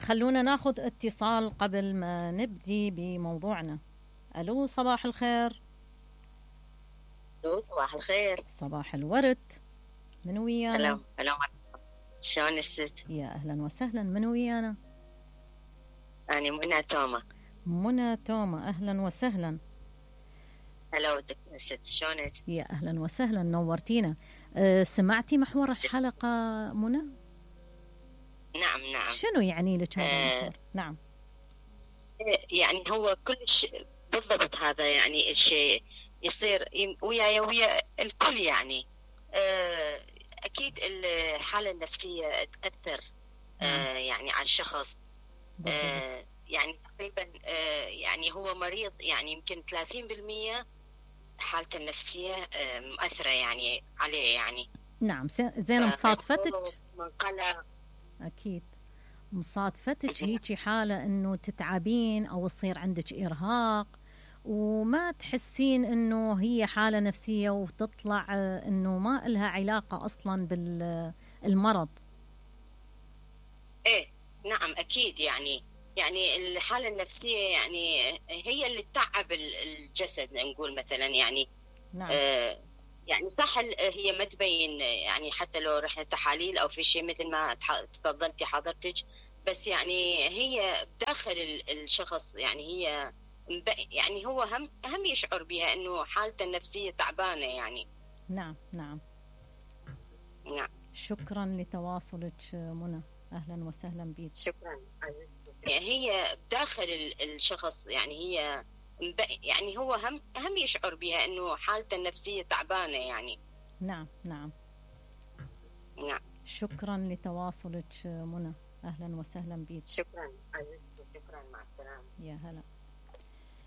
خلونا ناخذ اتصال قبل ما نبدي بموضوعنا. الو صباح الخير. الو صباح الخير. صباح الورد. من ويانا؟ هلا شلون الست؟ يا اهلا وسهلا. من ويانا؟ أنا منى توما. منى توما، اهلا وسهلا. هلا ست، شلونك؟ يا اهلا وسهلا، نورتينا. سمعتي محور الحلقة منى؟ نعم. شنو يعني لك هذا المحور؟ نعم. يعني هو كلش بالضبط هذا، يعني الشيء يصير وياي ويا الكل يعني. أكيد الحالة النفسية تأثر يعني على الشخص. يعني تقريبا يعني هو مريض، يعني يمكن 30% حالته النفسية مؤثرة يعني عليه يعني. نعم. زين، مصادفتك من قلق. أكيد مصادفتك هيجي حالة إنه تتعبين أو يصير عندك إرهاق وما تحسين إنه هي حالة نفسية، وتطلع إنه ما إلها علاقة أصلا بالمرض. إيه نعم أكيد. يعني الحالة النفسية يعني هي اللي تتعب الجسد، نقول مثلا يعني. نعم. يعني صح، هي ما تبين يعني، حتى لو رحنا تحاليل أو في شيء مثل ما تفضلتي حضرتك، بس يعني هي داخل الشخص، يعني هي يعني هو هم يشعر بها إنه حالته النفسية تعبانة يعني. نعم. شكرا لتواصلك منى، أهلا وسهلا بك. شكرا. يعني هي داخل الشخص، يعني هي يعني هو هم يشعر بها إنه حالته النفسية تعبانة يعني. نعم. شكرا لتواصلك منى، أهلا وسهلا بك. شكرا. مع السلامة. يا هلا.